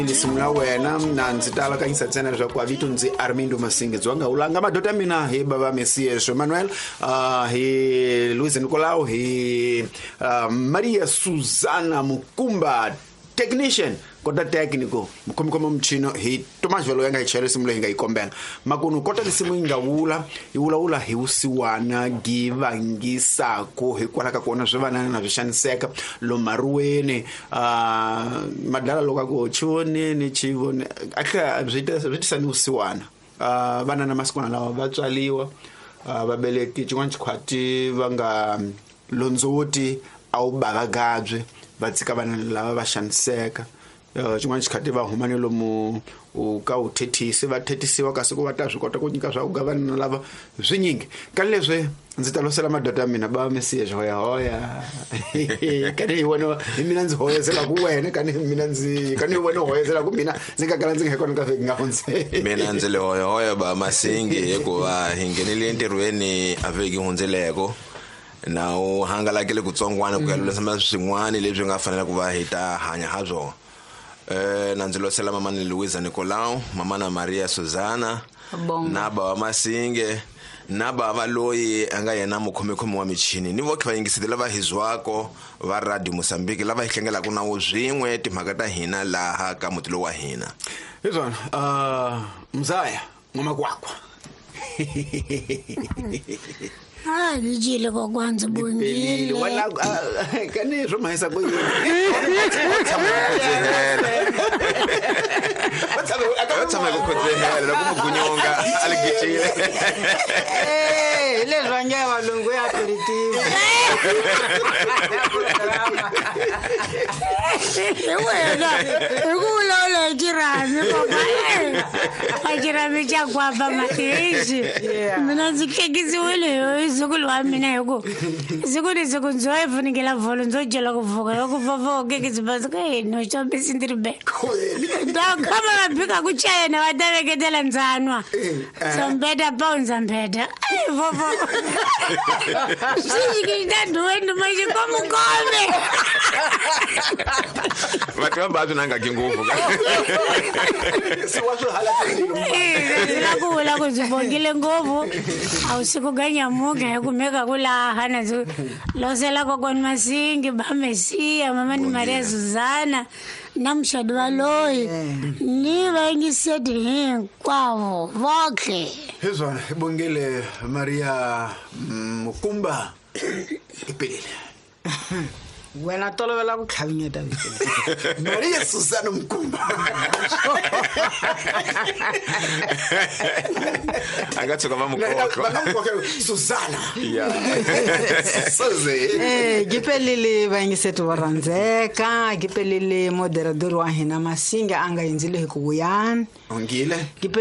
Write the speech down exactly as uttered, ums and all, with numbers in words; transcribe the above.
Lisimu la wena na ndzi ta alakanyisa ntsena leswaku a vito ndzi Armindo Masinge Dzonga ulanga madoda ya mina hi bava Messias Emmanuel, uh, hi Luiz Nicolau, hi uh, Maria Susana Mukumba technician kota técnico mukhomikhoma muchino hi Thomas Velo yanga hi chayela risimu leyi hi nga yi kombela makunu kota risimu yi nga vula yi vulavula hi vusiwana givangisaku hikwalaho ka kona swi vanana na swi xaniseka lomaruweni uh, madala loko a ku chivoneni chivone a tlhela swi tisa ni vusiwana. uh, vana na masikwana lawa va tswaliwa, uh, vabeleki xin'wana xikhwati va nga londzoti a wu bavagabye va tshika vana lava va xaniseka. Xin'wana xikhati va huma ni lomu u ka u thethisi va thethisiwa kasi ku va ta swi kota ku nyika swa ku ga vana lava swinyingi ka leswi ndzi ta losela madoda ya mina ba Messias hoya hoya kani hi wena hi mina ndzi hoyezela ku wena kani hi mina ndzi kani hi wena hoyezela ku mina ndzi nga kala ndzi nga kona ka vhiki nga hundze mina ndzi le hoya hoya ba Masingi hikuva hi nghenile entirhweni a vhiki hundzeleko na u hangalakile kutsongwana ku ya lulamisela swin'wana leswi nga fanela ku va hi ta hanya ha swona. Eh na ndzi losela mama ni Luiza Nicolau, mama na Maria Susana, na baba Masinge, na baba loyi a nga yena mukhomekhomi wa michini ni voke va yingiseti lava hi zwako va Radio Mozambique lava hi hlengelaka na wo swin'we timhaka ta hina laha ka muti lowu wa hina. Hi swona, uh, mzaya ngoma kwakwa. Ah, dijile kokwanza bongile. Wala kani swo mahisa ku yini? Va tshama ku khodzehela loko mugunyonga a li gicile. Eh, leswi va nge valungu ya aperitivo. Hi wena, hi ku vulavula hi xirhami papa. A xirhami xa kwapa mahexi. Mina ndzi hlekisiwile hi zukulu wa mina hi ku siku ni siku ndzo yi funengela vholo ndzo dyela ku pfuka loko vovho kekisi basi ka no xambisi ndzi ri be. Ta khama va bika ku chayena va ta veketela ndzanwa. Sombeta pa ndzambeta. Ai vovho. Swi ta nduwe nduma xi komukome. Va twa va swi nanga ngopfu. Se wa swi hala Eh, la ku vula ku ndzi bongile ngopfu. A wu siku ga nyamuka hi kumeka ku laha na ndzi losela kokwani Masingi ba Messias mama ni Maria Susana na muxadi wa loyi ni vayingiseti hinkwavo voke. Hi swona hi bongile Maria Mukumba ipelile. Wena tolovela ku tlhavinyeta vito. Maria Susana Mukumba. A nga tshuka va mukoko. Va nga mukoko Susana. Yeah. Suze. Eh, gipelile vayingiseti va rhandzeka, gipelile moderador wa hina Masinga a nga hindzile hi ku vuyani. Ongile. Gipelile